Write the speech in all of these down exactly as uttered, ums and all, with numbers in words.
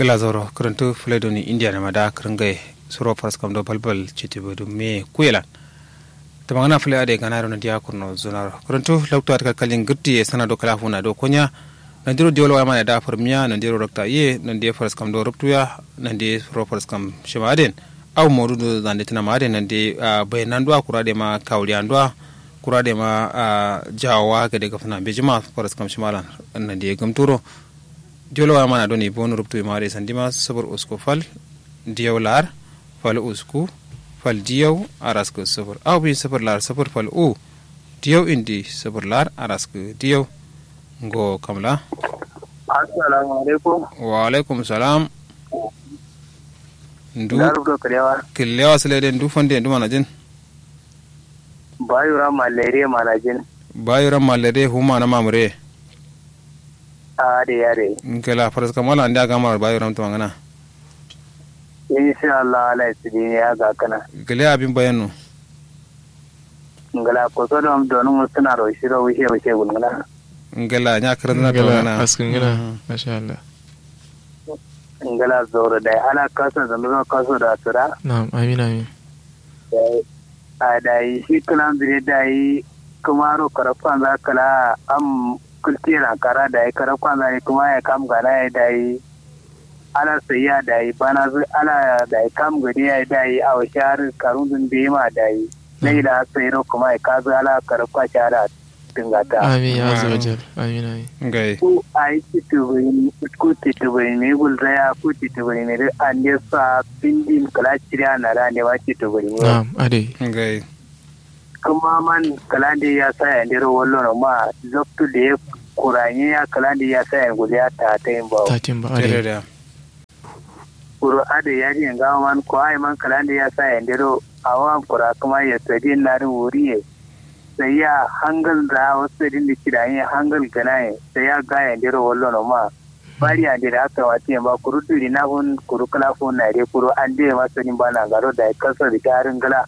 Gla zauro kǝrǝntǝ fǝle doni indiya nama da kǝrǝngaye. Suro faraskam do balbal citibu dǝ me kuyelan. Tǝmangǝna fǝle adai ganaro nandiya kurno zunaro kǝrǝntǝ loktu adǝ kalkalin gǝrtiye sana do kala funa do konya. Nandiro diyolo waya mana da fǝrmiya nandiro rakta iye nandiye faraskam do ruptuya. Nandiye suro faraskam shima aden. Au modu do zande tǝnama aden nandiye bayananduwa kura dema kawuliyanduwa. Kura dema jawowa gade gafsǝna mbejima faraskam shimalan. Nandiye gǝmturo. Diyol waya mana doni bonu ruptu imare sandima sufur usku fal. Diyau lar fal usku fal diyau araskǝ sufur au bi sufur lar sufur fal u. Diyau indi sufur lar araskǝ diyau. Ngo kamla. Assalamu alaikum. Wa alaikum salam. Ndu kǝllewa sǝle de ndu fande ndu manajin. Bayuran mallere manajin. Bayuran mallere huma na mamure. Ade ade. Ngela faraskam wala ande agamar bayuran tuma ngana. Insha Allah ala isidi ne ya gakana. Gele abin bayanno. Ngela koso dom donu musuna ro shiro wishe wishe gulngana. Ngela nya kırın na tuma ngana. Askın ngana. Masha Allah. Ngela zoro dai ala kasa zama kaso da sura. Na'am amin amin. A dayi shi kǝlanzǝ dai dayi kǝmaro karafkanza kǝla am kǝltiye lankara dayi karafkanza dai kǝma yayi kam gana yayi dayi. Ala sayi ya dayi banazǝ ala dayi kam gade yayi dayi awo shahar karunzǝ mbeyi ma dayi. Nayi la sayi ro kǝma yayi kazǝ ala karafka shahar. Dǝngata amin ya azza wa jal. Amin amin. Ngai ku ayi citubǝrimi ku citubǝrimi gulzaya ku citubǝrimi dǝ ande sa findin kǝla ciriya na dǝ ande ma citubǝrimi na'am adai. Ngai kǝma man kǝla nde ya saye andero wallono ma. Loktu de kuranye ya kǝla nde ya saye gulya tatayin bawo. Tatayin bawo adai. Kuru adǝ yadiye ngawo man ko ayi man kǝlande ya saye ndero. Awo am kura kǝma ye sadin nadǝ wuriye. Sai ya hangal nza awo sadin dǝ kidanye hangal gǝnaye sai ya gaye ndero wallono ma. Bari ande dǝ hakka matiye mba kuru duri nafun kuru kǝla fun naye de kuru ande ma sadin ba nangaro dayi kaso dǝ sha adǝ ngla.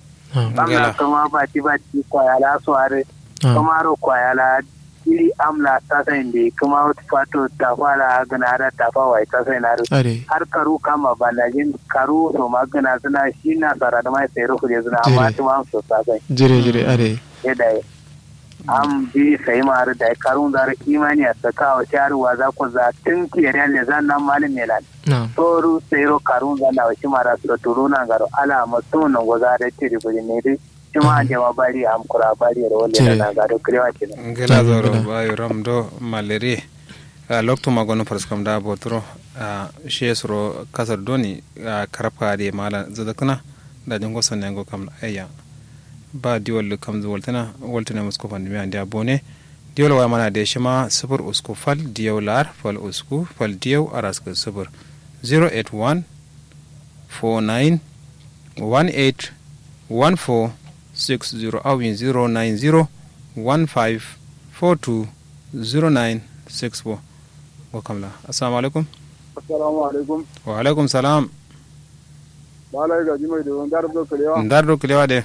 Amla kǝma bati bati kwaya la so adǝ. Kǝmaro kwaya la. Jiri amla tasain de kǝma wut fato tafa la gǝna da tafa wai tasain adǝ. Har karu kamma bandajin karu so ma gǝna sǝna shi nasara dǝ mai sairo fǝde sǝna amma tǝma am so tasain. Jire jire adai. Ye dai. Am jiri sai ma adǝ dai karu nza dǝ imani a saka awo shi adǝ waza koza tǝn kiyariya lezan nan malum melan. Soru sairo karu nza nda awo shi ma da so turu nangaro ala amma tǝmun nongoza adǝ tiri buri ne dǝ. Shima ande ma bari am kura bari ro wande na nanga do kre wa kina. Ngela zoro bayo ram do malere. Loktu ma gono farskam da boturo. She suro kasar doni. Karabka de mala zadakna. Da jingo sanne ngo kam ayya. Ba diwal kam zu waltana waltana musko fandimi ande abone. Diwal wa mana de shima sufur usku fal diyau lar fal usku fal diyau araska sufur. Zero eight one four nine one eight one four six zero awin zero nine zero one five four two zero nine six four. Ngo kamla. Assalamu alaikum. Assalamu alaikum. Wa alaikum salam. Ba lai gaji mai do ndar do kalewa ndar do kalewa de.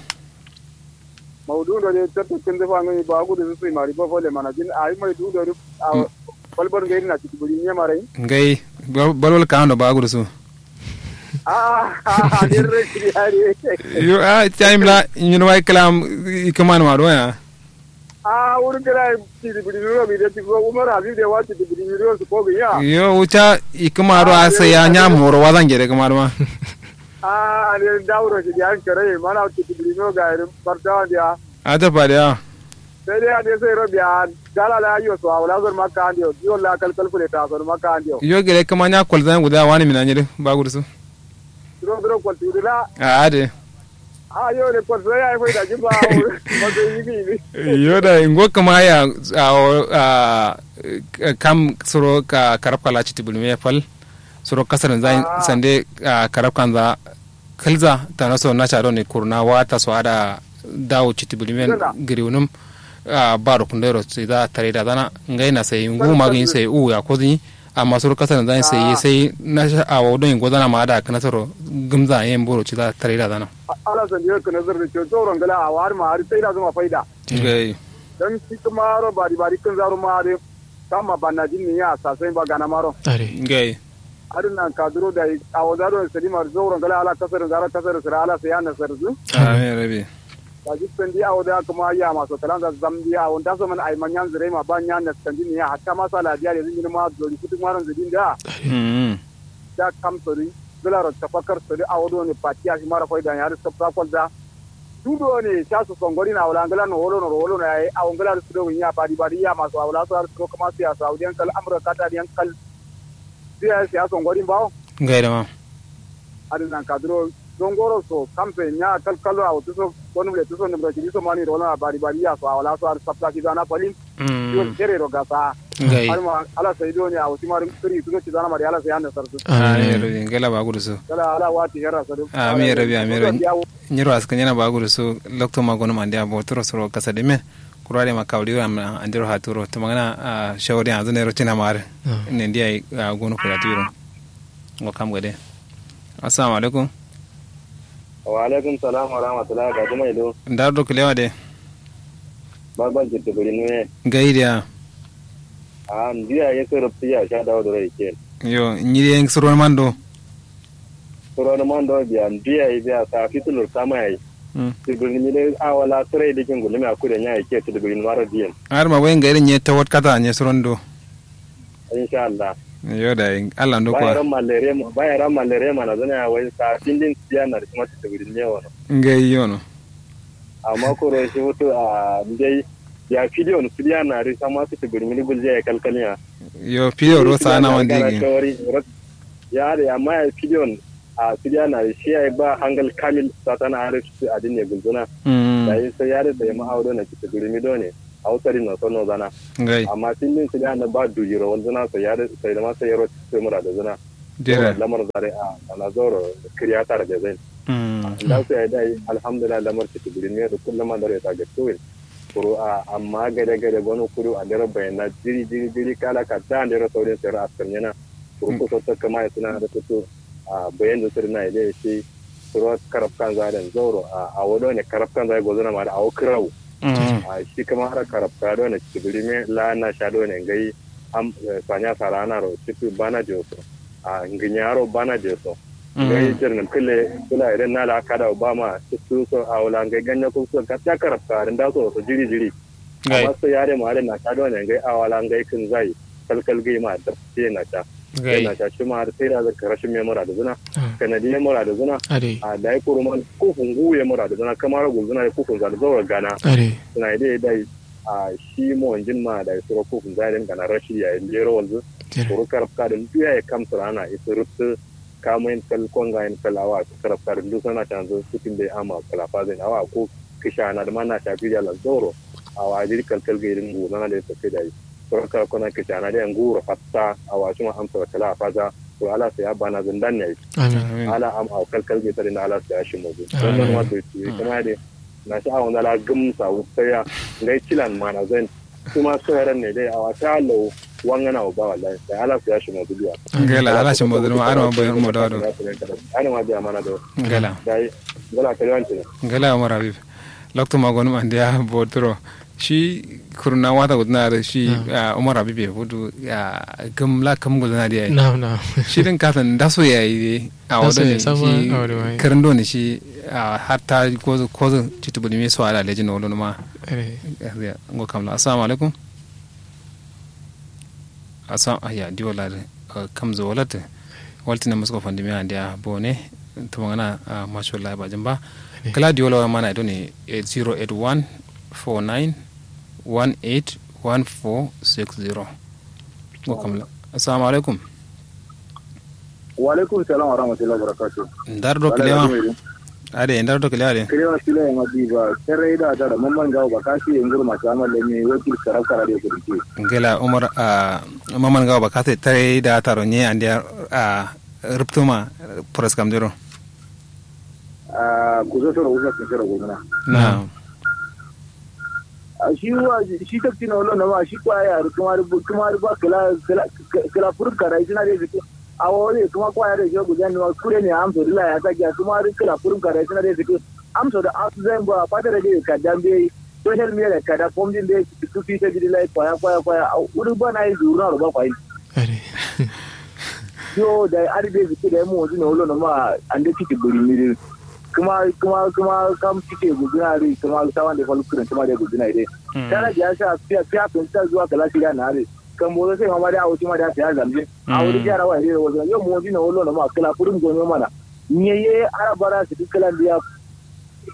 Maudu ndo de tattu kindi fangami ba gudu su sui mari ba fole mana jin ayi mai du ndo de. Balbal ngai na ciki buri ne marai. Ngai balbal ka ndo ba gudu su. Ah ah ne rai kiri hari. Yo ah time la nyun wai kalam. Ikaman ma do ya. Ah wuri kira ciki buri ne ro mi de ciki umar habib de wa ciki buri ne ro su ko ya. Yo wuta ikama do asa ya nya moro wazan gere kuma do ma. Ah ande dauro ciki an kare mana ciki buri ne ro ga irin bartawa dia. Ata fadiya. Sai dai ande sai ro biya dala la yo so awla zor makka ande yo yo la kal kal fule ta zor makka ande yo. Yo gere kuma nya kwalzan guda wani mina nyiri ba gudu su. Duro duro kwalti gudu la. A ade. A yo ne kwalti ya ai faida jin ba. Yo da ingo kuma ya a kam suro ka karab kala citi bulme fal. Suro kasar zan sande karab kanza. Kǝlza tano so nasha done kurna wata so ada dawo citi bǝrimen gǝriwunǝm. Baro kundero saiza tarai dazana ngai na sai ngu magǝnyi sai uwu ya kozǝnyi. Amma suro kasarin zani sai ye sai nasha awo done gozana ma ada kǝnasaro gǝmza yen boro ciza tarai dazana. Ala sandi yo kǝnasar dǝ co zauro ngla awo adǝ ma adǝ sai dazǝma faida. Ngai. Dan shi kǝmaro bari bari kǝnzaro ma adǝ. Samma bannajin ni ya sasai ba ganamaro. Ngai. Adǝ nan kaduro dai awo za done sǝdi maro zauro ngla ala kasarǝ nza ala kasarǝ sǝra ala sai ya nasarǝ zǝ. Amin rabi. Daji sandi awo za kǝma yama so kǝlanza zamdiya awo nda so man ai ma nyanzǝ raima ba nya naskandin ya hatta ma sala diya lezǝ nyinǝma dori kutuk maro nzǝdin da. Mmm. Da kam sori. Gǝlaro tafakkar sori awo done fatiya shimaro faida nya dǝ sabsa kolza. Ndu done sha so songorin awo la ngla no wolo no wolo no yayi awo ngla dǝ sǝdo gǝnya badi badi yama so awo la so har sǝdo kǝma siya so awo diyan kal amro kata diyan kal. Biya siyasa ngwarin bawo. Ngai da ma. Adǝ nan kaduro zongoro so kamfe nya kalkalo a wutu so wani bule tuso nǝmro cidi so mani rola bari bari ya so a wala so adǝ sabta ci zana falin. Yo kere ro gasa. Ngai. Alma ala sai do ne a wuti mari kiri tuso ci zana mari ala sai anda sarsu. Amin rabi ngela ba gudu so. Kala ala wati herra sadu. Amin rabi amin rabi. Nyiro askan yana ba gudu so lokto ma gonum ande abo turo suro kasa de men. Kuru adǝ ye ma kawuri ro andiro haturo tǝmangǝna. Shawari yanzǝ nairo cina ma adǝ. Nandi yayi. Gonu kulatiro. Ngo kam gade. Assalamu alaikum. Wa alaikum salam wa rahmatullahi wa barakatuh mai do. Ndar do kulewa de. Babal jitte buri nuye. Ngai diya. A ndiya ye soro tiya sha dawo doro yake. Yo nyiri ye soro mando. Soro mando biya ndiya ye biya sa fitulur kama yayi. Tibirni mi dai awala sirai dikin gulumi a kude nya yake tibirni maro diyen. Har ma wai ngai nye tawat kata nye suron do. Insha Allah. Yo dai Allah ndo kwa. Bayaran malere bayaran malere mana zana ya wai sa findin siya na kuma tibirni ne wono. Ngai yono. Amma koro shi futu a ndai ya fidiyon fidiya na ri sama tibirni gulje ya kalkaliya. Yo fidiyo ro sa na wandi gi. Ya da ya ma ya fidiyon. A sidiya na shi ya yi ba hangal kamil satana a rai su adin ne gulzuna. Da yi sai ya da sai ma awo done kita gurumi done. Awo sari no sono zana. Amma sin din sidiya na ba dujiro wanzuna sai ya da sai da ma sai yaro sai mura da zuna. Lamar zare a na zoro kiriya tare da zai. Da su ya yi da yi alhamdulillah lamar kita gurumi da kullum man dare ta ga tuwin. Kuru a amma gade gade gono kudu a dero bayana jiri jiri jiri kala ka da dero saurin sayar askar yana. Kuru kuso ta kama ya suna da kuto. A bayan da sirna ya dai shi suro karab kanza da zauro a wado ne karab kanza ya gozana ma da awo kirau. A shi kama har karab ka do ne cibiri me la na sha do ne ngai. Am sanya sarana ro cipi bana joso. A nginyaro bana joso. Ngai jirnin kile kula idan na la kada ba ma cipi so a wala ngai ganya kuso gatta karab ka da so jiri jiri. Amma sai yare ma da na sha do ne ngai a wala ngai kin zai. Kalkal gai ma da sai na sha. Sai na sha shi ma har sai da zaka rashin me mura da zuna. Kanadi ya mura da zuna. A dai kuruman kufun gu ya mura da zuna kamar gulzuna ya kufun za da zaura gana. Suna dai dai a shi mo jin ma dai suro kufun za da gana rashi ya yi lero wanzu. Kuru karab ka da duya ya kamsura ana isu rutsu. Kamo yin kal konga yin kal awa karab ka da dusa na shanzu sukin dai ama kala fazin awa ko kishana da ma na sha biya la zauro. Awa jiri kalkal ga irin gozana da ya tafi da yi. Koro kala kona kishana da yan guro fatta awa shima amsa kala faza. To ala sai abana zundan yayi. Ala am aw kalkal ga tare na ala sai ashi mozu. Don ma to ci kuma de. Na sha awon ala gum sa wutsaya. Ngai cilan mana zan. Kuma sai ran ne dai awa ta lo wangana ba wallahi sai ala sai ashi mozu biya. Ngela ala shi mozu ma arma boyar mo da do. Ana ma biya mana do. Ngela. Dai ngela kalwanti. Ngela umar habib. Loktu ma gonum andiya boturo. Shi kurna wata gudana da shi. Umar habibe fudu. Gam la kam gudana da yayi. Shi din kasan daso yayi de. A wado ne shi. Karin do ne shi. Hatta kozo kozo citu budi me so ala lejin wolo ma. Ngo kamla assalamu alaikum. Assalamu ayya di wala de. Kamzo wala te. Walti na musko fandi me andiya bone. Tumangana. Mashallah ba jamba. Kala di wala mana do ne. Zero eight one four nine one eight one four six zero. Assalamu alaikum. Wa alaikum salam wa rahmatullahi wa barakatuh. Ndar do kilewa. Ade ndar do kilewa de. Kilewa sile ma di ba tare da ta da mamman gawo ba kasi nguru ma sama le ni wakil karab kara de kurki. Ngela umar. Mamman gawo ba kasi tare da taro nye ande. Ruptuma. Pras kam dero. Kusa soro kusa kusa soro kusa na. Na. Shi wa shi takti na wala na ma shi kwaya kuma kuma ba kala kala kala furun kara isina de fiti. Awo de kuma kwaya de shi gudan ne kure ne amso dila ya sake kuma kala furun kara isina de fiti. Amso da asu zan ba fata da de ka dambe. Social media ka da fomdin de su fita gidi lai kwaya kwaya kwaya. Uri ba na yi zuru na roba kwayi. Yo dai adǝ dai zǝkkǝ dai mo'onzǝ no wullono ma. Ande ciki bǝrimmi dǝ kǝma kǝma kǝma kam ciki ye gulzǝna dǝ kǝma sawan dǝ fal kǝrǝntǝma dai gulzǝna ye dai. Tana diya sha fiya fiya kǝn ta zuwa kǝla shiriya na dǝ. Kambo so sai mama dai awo shima dai sai ya zamjin awo dǝ jara wa ye dai wazǝna yo mo'onzǝ no wullono ma kǝla fudum gonyo mana. Nyaye ara bara sǝkkǝ kǝlan dǝ ya.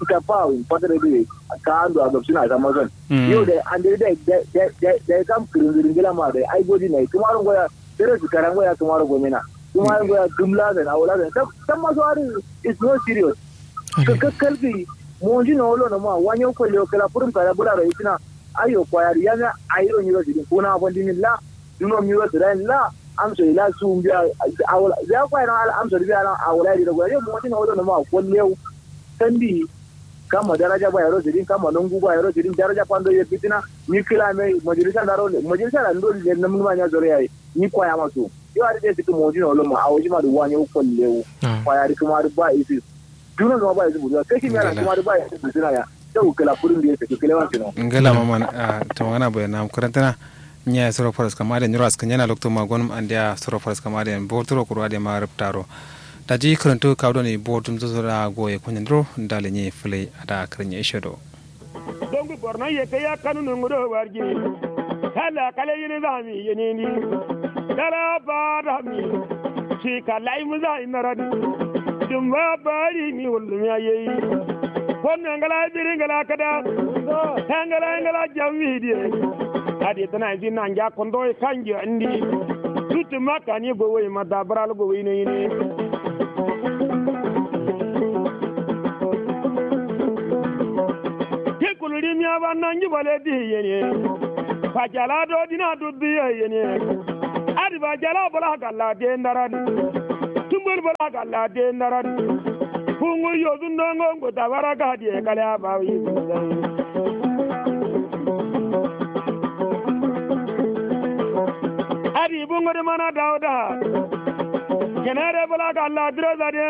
Ita fa win fatara dǝ ye ka ando a gabsǝna samma son. Yo dai ande dai dai dai dai kam kǝrǝnzǝ dǝ ngǝla ma dai ai gojin na ye kǝmaro ngoya. Dǝ rǝ sǝkkara ngoya kǝmaro gomena. Kǝmaro ngoya gǝm la zan awo la zan samma so adǝ. Is no serious. Kǝkkǝ kalgǝ. Mo'onzǝ no wullono ma wanyo kollewo kǝla fudum kada bǝlaro isǝna. Ayyo kwayadǝ yamiya ayiro nyiro sǝdin kuna fandǝmin la. Duno miro sǝdain la. Amso ila suwun biya. Awo la biya kwayadǝ ma ala amso dǝ biya ala awo la ye dǝ dogona yo mo'onzǝ no wullono ma kollewo. Sandi. Kamma daraja ba yero sǝdin kamma nongu ba yero sǝdin daraja fando ye fitina. Ni kǝla me majalisa ndaro majalisa la ndo le namnuma nya zoro yayi. Ni kwaya ma suwun. Yo adǝ dai sǝkkǝ mo'onzǝ no wullono ma awo shima dǝ wanyo kollewo. Kwayadǝ kǝma dǝ ba isǝ. Duno duma ba isǝ buduwa kashi miya la kǝma dǝ ba isǝ buduwa ya. Tau kǝla fudum dǝ ye sǝkkǝ kǝlewan sǝno. Ngla mama. Tawangana boye nam kǝrantǝna. Nyaye soro faraskam adǝ yen nyiro askǝ nyena loktu ma gonum andeya soro faraskam adǝ yen boturo kuru adǝ yen ma rǝptaro. Daji kǝrantǝ kawu done botum so soro a goye konyen duro ndale nyi fǝlai ada kǝrǝnye ishe do. Dongu borno ye kaiya kanu nungu do warji. Kala kala yini zami yini ni. Kala ba dami. Shi kala imu zami naradi. Dumba bari ni wullum ya yeyi. Konno ngala biri ngala kada. Ngala ngala jammi diye. Adi tana isi nangya kondo kanji andi. Tutu makani gowai madabral gowai ne ne. Ki kuluri miya ba nangi bale di yene. Bajala do dina duddu yene. Adi bajala bala galla de ndaran. Tumbul bala galla de ndaran. Kungu yodun dongo ngo tabara gadi kale abawi. Adi bungo de mana dauda. Kenare bala galla diro zade.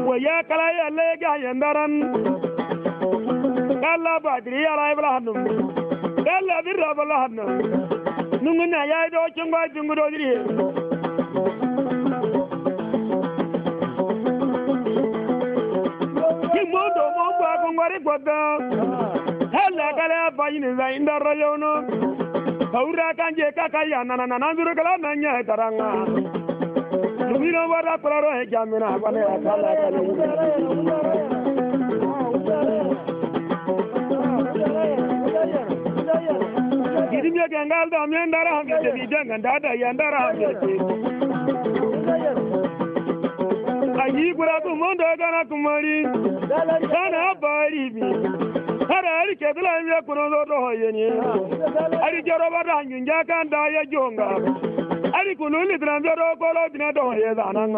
Waya kala yalle ga yandaran. Kalla badiri yala ibla hannum. Kalla birra bala hannum. Nungu na ya do cungo cungu do diri. Kimondo mo ba kongwari kwata. Kalla kala bayini za indara yono. Kaura kanje kaka ya nana nana zuru kala nanya taranga. Lumino wara kularo he jamina bane akala kala. Gidimye kengal da men dara hamye de bi janga da da yan dara hamye de. Ayi kura ku mondo gana kumari. Kana bari bi. Kara ari ke dula me kuno do do yene. Ari jaro ba da hanjun ja kan da ya jonga. Ari kunu litran do do kolo dina do ye da nan.